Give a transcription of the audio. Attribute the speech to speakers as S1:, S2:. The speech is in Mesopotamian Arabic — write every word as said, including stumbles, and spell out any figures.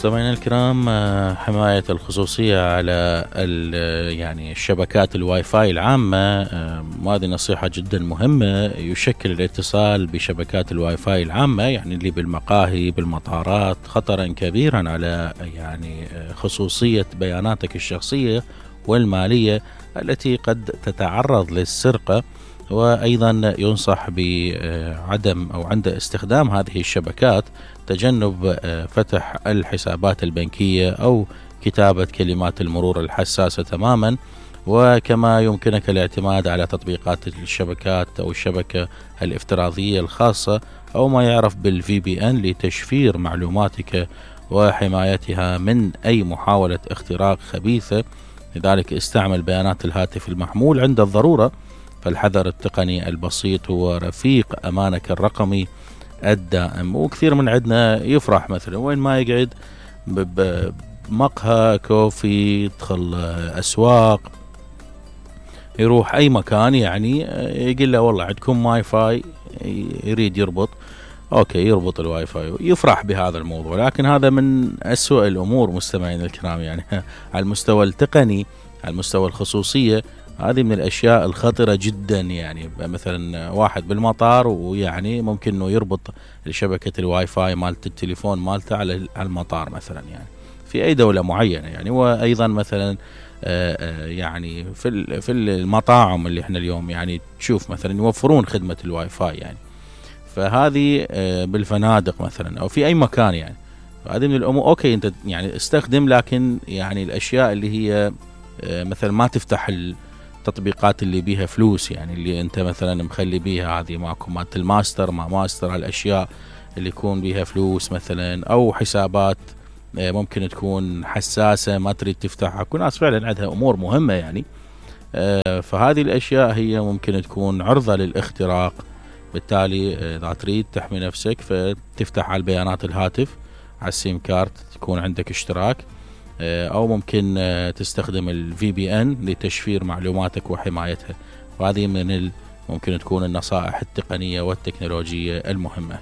S1: مستمعينا الكرام، حماية الخصوصية على يعني الشبكات الواي فاي العامة، وهذه نصيحة جدا مهمة. يشكل الاتصال بشبكات الواي فاي العامة يعني اللي بالمقاهي بالمطارات خطرا كبيرا على يعني خصوصية بياناتك الشخصية والمالية التي قد تتعرض للسرقة. وأيضا ينصح بعدم أو عند استخدام هذه الشبكات تجنب فتح الحسابات البنكية أو كتابة كلمات المرور الحساسة تماما. وكما يمكنك الاعتماد على تطبيقات الشبكات أو الشبكة الافتراضية الخاصة أو ما يعرف بالفي بي إن لتشفير معلوماتك وحمايتها من أي محاولة اختراق خبيثة. لذلك استعمل بيانات الهاتف المحمول عند الضرورة، فالحذر التقني البسيط هو رفيق أمانك الرقمي الدائم. وكثير من عندنا يفرح مثلا وين ما يقعد بمقهى كوفي، يدخل أسواق، يروح أي مكان يعني يقول له والله عندكم واي فاي، يريد يربط، أوكي يربط الواي فاي، يفرح بهذا الموضوع. لكن هذا من أسوأ الأمور مستمعين الكرام، يعني على المستوى التقني، على المستوى الخصوصية، هذه من الأشياء الخطرة جدا. يعني مثلا واحد بالمطار ويعني ممكن إنه يربط شبكة الواي فاي مالت التليفون مالته على المطار مثلا، يعني في أي دولة معينة يعني. وأيضا مثلا يعني في في المطاعم اللي احنا اليوم يعني تشوف مثلا يوفرون خدمة الواي فاي يعني، فهذه بالفنادق مثلا أو في أي مكان يعني. هذه من الأمور أوكي أنت يعني استخدم، لكن يعني الأشياء اللي هي مثلا ما تفتح التطبيقات اللي بيها فلوس، يعني اللي انت مثلا مخلي بيها هذه ماكو مالت الماستر ما ماستر، هالاشياء اللي يكون بيها فلوس مثلا، او حسابات ممكن تكون حساسة ما تريد تفتحها. كل ناس فعلا عندها امور مهمة يعني، فهذه الاشياء هي ممكن تكون عرضة للاختراق. بالتالي اذا تريد تحمي نفسك فتفتح على البيانات الهاتف على السيم كارت تكون عندك اشتراك، أو ممكن تستخدم الفي بي إن لتشفير معلوماتك وحمايتها. وهذه من ممكن تكون النصائح التقنية والتكنولوجية المهمة.